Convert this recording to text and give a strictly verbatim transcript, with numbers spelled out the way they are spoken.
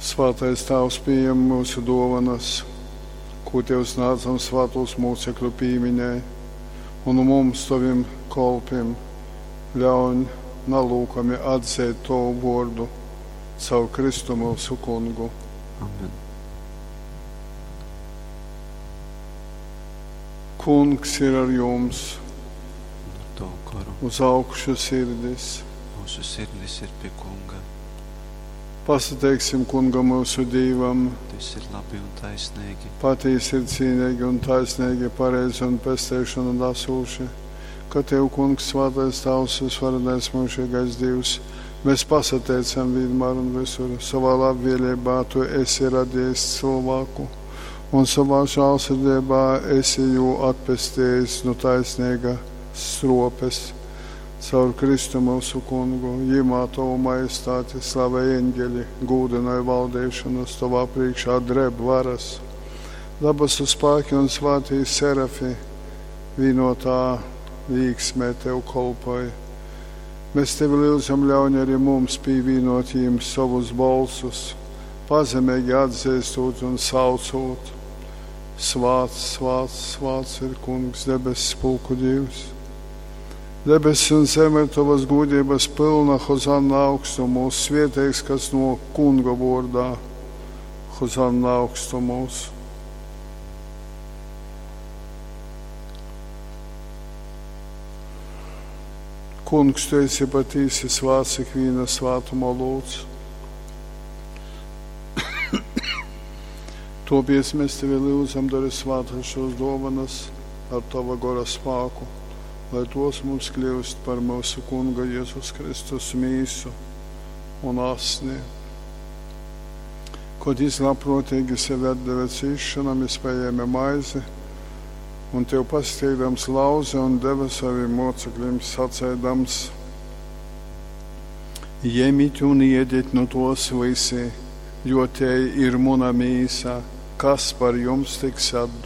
Svātais Tāvs, pījem myusu dōvanas, kū Tev snādzam svātūs mūcekļu pīmiņai, un mums, Tovim kolpim, ļauņ nalūkami atzeit Tovu vōrdu caur Kristu myusu Kungu. Amen. Kungs ir ar jums, Un ar tavu goru. uz augšu sirdis. Mūsu sirdis ir pie Kunga. Pasateiksim Kungam myusu Dīvam. Tas ir labi un taisnīgi. Patīsi ir cīnīgi un taisnīgi, pareizi un pesteišanu nesūši, ka Tev, Kungs, svētais Tavs, visvarenais mūžīgais Dievs, mēs pasateicam vienmēr un visur. Savā labvēlībā Tu esi radījis cilvēku, un savā žēlsirdībā esi jū atpestījis no taisnīga stropes. Caur Kristu mūsu kungu, jimā Tavu majestāti, slavē eņģeļi, gūdināja valdīšanas, Tavā priekšā dreb varas. Dabasu spēki un svētī serafi vienotā līksmē Tev kolpoja. Mēs Tevi lūdzam, ļauj arī mums pievienot jiem savus bolsus, pazemīgi atzīstot un saucot. Svāts, svāts, svāts ir Kungs, debesu pulku Dievs. Debesis un zeme ir Tavas gudrības pilna, Hozanna augstumos, svētīgs, kas no Kunga vārdā, Hozanna augstumos. Kungs, Tu esi patīsi svāts ikviena svātuma lūdz. Topies mēs Tevi lūdzam, dari svātas šos dāvanas ar Tava gora spēku, lai tos mums kļūst par mūsu Kunga Jēzus Kristus mīsu un asni. Kad jis labprātīgi sevi atdeva cīšanam, jis paēma maizi un Tev pasteigdams lauze un deva saviem mocekļiem sacēdams: Ņemiet un iediet no tos visi, jo te ir muna mīsa, kas par jums tiks atdota.